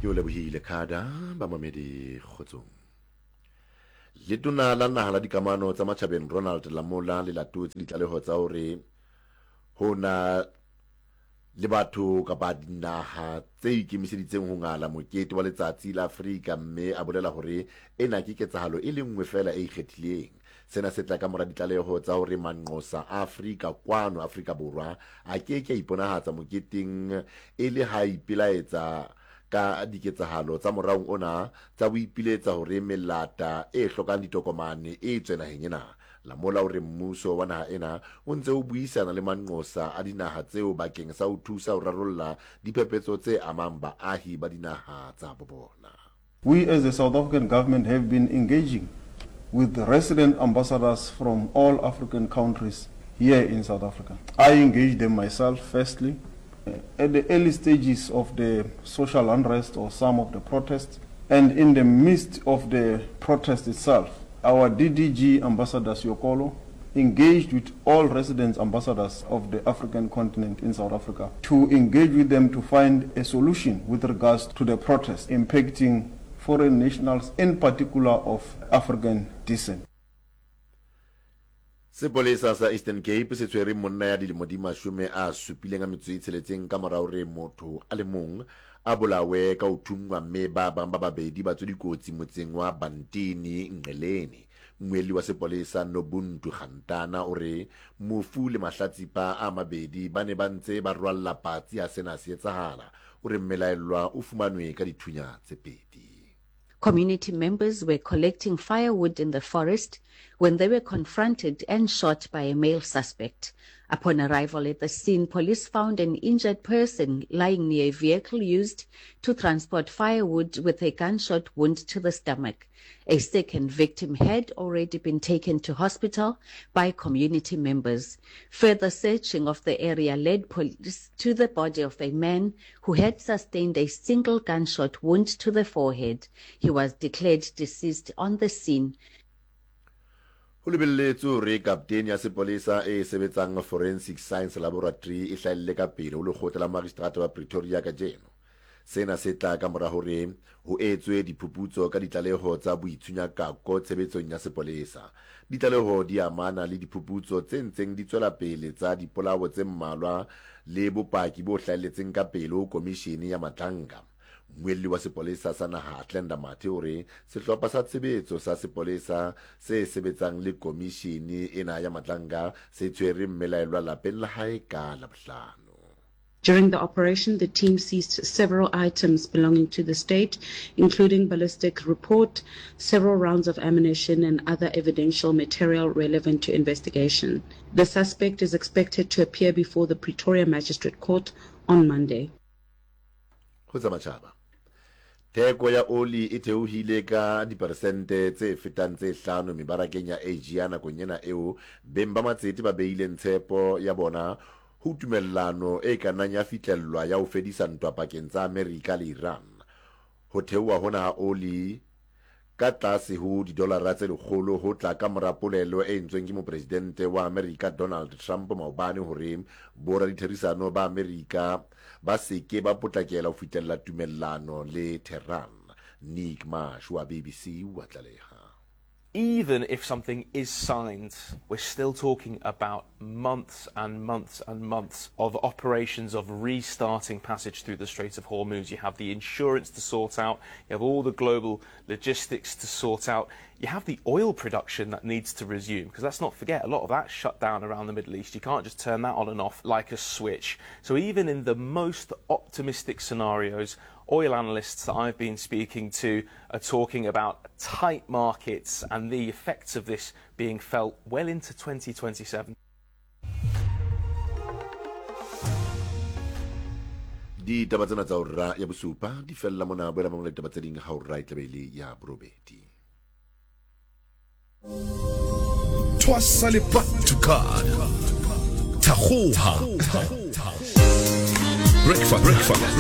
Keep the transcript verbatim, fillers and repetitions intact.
Ke o lebohile Khada bamamedi kgotsong. Letona la naha la dikamano tsa matjhabeng Ronald Lamola le latotse ditlaleho tsa hore ho na le batho kapa dinaha tse ikemiseditseng ho ngala mokete wa letsatsi la Afrika, mme a bolela hore ena ke ketsahalo e le nngwe feela e ikgethileng. Sena se tla ka mora ditlaleho tsa hore manqosa a Afrika kwano Afrika Borwa a ke ke a iponahatsa moketeng e le ha ipelaetsa ka diketsahalo tsa moraong ona tsa boipiletsa hore melata e hlokang ditokomane e tswe naheng ena. Lamola o re mmuso wa naha ena o ntse o buisana le manqosa a dinaha tseo bakeng sa ho thusa ho rarolla diphephetso tse amang baahi ba dinaha tsa bo bona. We as the South African government have been engaging with the resident ambassadors from all African countries here in South Africa. I engaged them myself firstly at the early stages of the social unrest or some of the protests, and in the midst of the protest itself, our D D G Ambassador Siokolo engaged with all resident ambassadors of the African continent in South Africa to engage with them to find a solution with regards to the protest impacting foreign nationals, in particular of African descent. Sepolesa sa Eastern Cape se tshwere monna ya dilemo di mashome a supileng a metso e tsheletseng ka mora hore motho a le mong a bolawe ka ho thunngwa mme ba bang ba babedi ba tswe dikotsi motseng wa Bantini Nqeleni. Mmuelli wa sepolesa Nobuntu Gantana o re mofu le mahlatsipa a mabedi ba ne ba ntse ba rwalla patsi ha sena se etsahala. O re mmelaellwa o fumanwe ka dithunya tse pedi. Community members were collecting firewood in the forest when they were confronted and shot by a male suspect. Upon arrival at the scene, police found an injured person lying near a vehicle used to transport firewood with a gunshot wound to the stomach. A second victim had already been taken to hospital by community members. Further searching of the area led police to the body of a man who had sustained a single gunshot wound to the forehead. He was declared deceased on the scene. Ho lebelletswe hore kaptene ya sepolesa e sebetsang Forensic Science Laboratory e hlahelle ka pele ho lekgotla la magistrata wa Pretoria kajeno. Sena se tla ka mora hore ho etswe diphuputso ka ditlaleho tsa boitshunyakako tshebetsong ya sepolesa. Ditlaleho di amana le diphuputso tse ntseng di tswela pele tsa dipolao tse mmalwa le bopaki bo hlahelletseng ka pele ho komishene ya Madlanga. Mmuelli wa sepolesa sa naha Atlenda Mathe o re sehlopha sa tshebetso sa sepolesa se sebetsang le komishene ena ya Madlanga se tshwere mmelaellwa lapeng la hae ka Labohlano. During the operation, the team seized several items belonging to the state, including ballistic report, several rounds of ammunition, and other evidential material relevant to investigation. The suspect is expected to appear before the Pretoria Magistrate Court on Monday. Ho tsa matjhaba. Theko ya oli e theohile ka diperesente tse fetang tse hlano mebarakeng ya Asia nakong ena eo beng ba matsete ba beileng tshepo ya bona ho tumellano e ka nnang ya fihlellwa ya ho fedisa ntwa pakeng tsa Amerika le Iran. Ho theoha hona ha oli ka tlase ho didolara tse lekgolo ho tla ka mora polelo e entsweng ke mopresidente wa Amerika Donald Trump maobane hore boraditherisano ba Amerika ba seke ba potlakela ho fihlella tumellano le Tehran. Nick Marsh wa B B C wa tlaleha. Even if something is signed, we're still talking about months and months and months of operations of restarting passage through the Strait of Hormuz. You have the insurance to sort out, you have all the global logistics to sort out, you have the oil production that needs to resume, because let's not forget, a lot of that shut down around the Middle East. You can't just turn that on and off like a switch. So even in the most optimistic scenarios, oil analysts that I've been speaking to are talking about tight markets and the effects of this being felt well into twenty twenty-seven. Ditaba tsena tsa hora ya bosupa di fella mona, boela mamela ditaba tse ding ha hora e tlabe e le ya borobedi. Twasa le Patuka. Thagoha. Breakfast. Breakfast.